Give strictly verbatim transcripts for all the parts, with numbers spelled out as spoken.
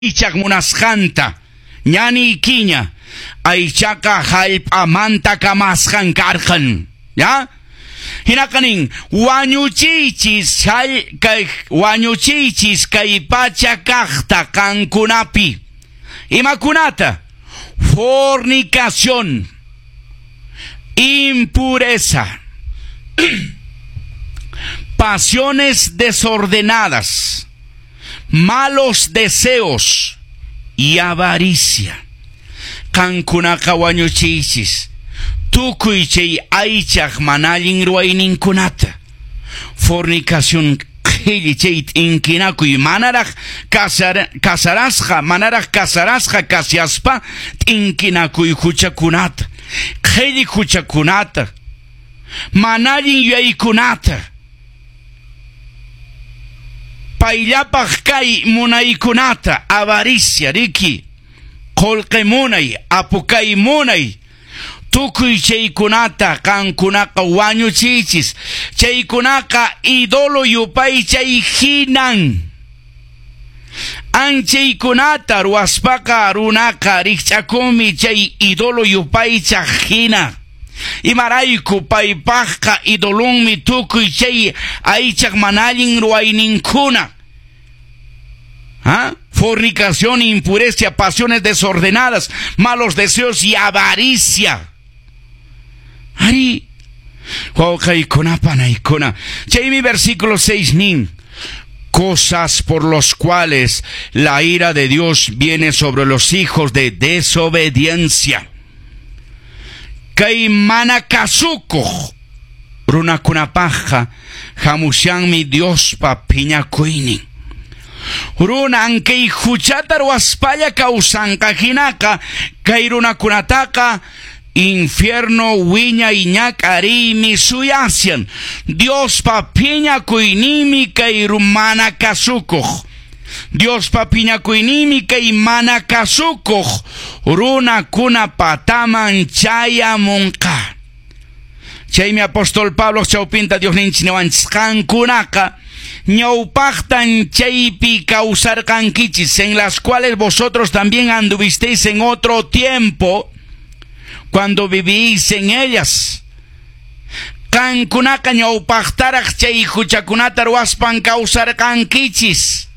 Aychaq munasqanta ñaniykiña aychaqa hallp'amanta kamasqan karqan, ya? Hinaqa nin wañuchiychis kay wañuchiychis kay pacha kaqta qankunapi. Imakunata? Fornicación, impureza, pasiones desordenadas, malos deseos y avaricia. Qankunaqa wañuchiychis tukuy chay aychaq mana allin ruwayninkunata. Fornicación qhilli chay t'inkinakuy manaraq kasar, kasarasqa manaraq kasarasqa kashaspa t'inkinakuy huchakunata, qhilli huchakunata, mana allin yuyaykunata, payllapaq kay munaykunata, avaricia riki, qullqi munay, apukay munay, tukuy chaykunata qankunaqa wañuchiychis. Chaykunaqa ídolo yupaychay hinan. Anchaykunata ruwaspaqa runaqa rikch'akunmi chay ídolo yupaychaq hina. Imarayku paypaqqa idolonmi tukuy chay aychaq mana allin ruwayninkuna. ¿Ah? Fornicación, impureza, pasiones desordenadas, malos deseos y avaricia. Arí, wawqiykuna panaykuna. Chaymi versículo seis nin. Cosas por los cuales la ira de Dios viene sobre los hijos de desobediencia. Kay mana kasukuq runakunapaqqa hamushanmi Diospa phiñakuynin. Runa ankay huchata ruwaspalla kawsanqa hinaqa kay runakunataqa infierno wiñay ñak'ariymi suyashan. Diospa phiñakuyninmi kay mana kasukuq. Diospa phiñakuyninmi kay mana kasukuq runakuna pataman chayamunqa. Chaymi apóstol Pablo chawpinta Diosninchik niwanchis qankunaqa ñawpaqtan chaypi kawsarqankichis, en las cuales vosotros también anduvisteis en otro tiempo cuando vivís en ellas. Qankunaqa ñawpaqtaraq chay huchakunata ruwaspan kawsarqankichis.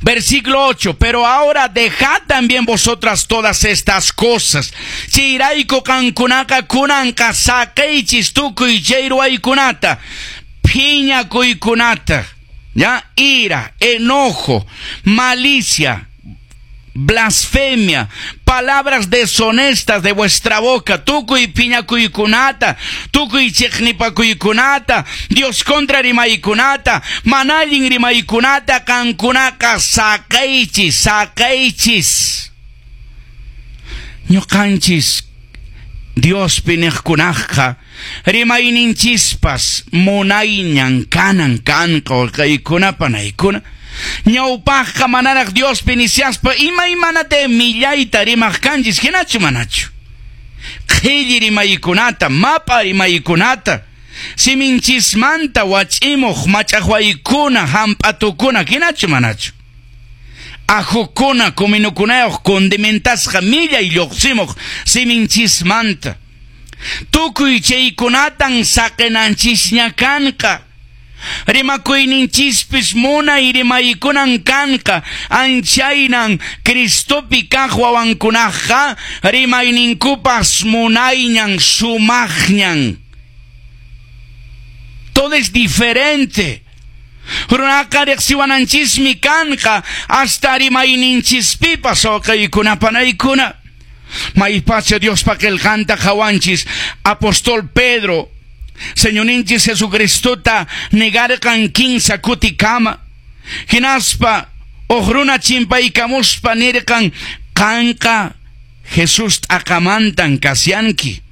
Versículo ocho, pero ahora dejad también vosotras todas estas cosas. Chayrayku qankunaqa kunanqa saqiychis tukuy chay ruwaykunata, phiñakuykunata, ya, ira, enojo, malicia, blasfemia, palabras deshonestas de vuestra boca, tukuy phiñakuykunata, tukuy chiqnipakuykunata, Dios contra rimaykunata, mana allin rimaykunata, qankunaqa saqiychis, saqiychis. Ñuqanchis Diospi niqkunaqqa rimayninchispas munayñan kanan kanqa wawqiykuna panaykuna. Ñawpaqqa manaraq Diospi nishaspa imaymanata millayta rimaq kanchis, hinachu manachu? Qhilli rimaykunata, mapa rimaykunata, siminchismanta wach'imuq mach'aqwaykuna, hamp'atukuna, hinachu manachu? Ajukuna, kuminukunayuq condimentasqa millay lluqsimuq siminchismanta. Tukuy chaykunatan saqinanchisña kanqa. Rimakuyninchispis munay rimaykunan kanqa. Anchaynan Cristopi kaq wawankunaqa rimayninkupas munayñan sumaqñan. Todo es diferente. Runaqa riqsiwananchismi kanqa hasta rimayninchispipas wawqiykuna panaykuna. Maypacha Diospa qillqanta qhawanchis apóstol Pedro Señorninchis Jesucristota negarqan kinsa kutikama. Hinaspa huk runa chimpaykamuspa nirqan qanqa Jesús t'aqamantan kashanki.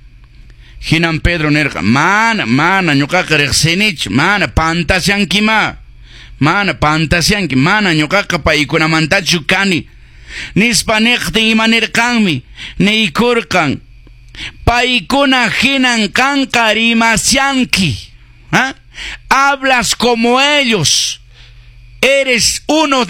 Hinan Pedro nirqan mana mana ñuqaqa riqsinichu, mana pantashankima, mana pantashanki, mana ñuqaqa paykunamantachu kani. Nispa niqtin ima nirqanmi niykurqan paykuna hinan qanqa rimashanki. ¿Ah? Hablas como ellos. Eres uno de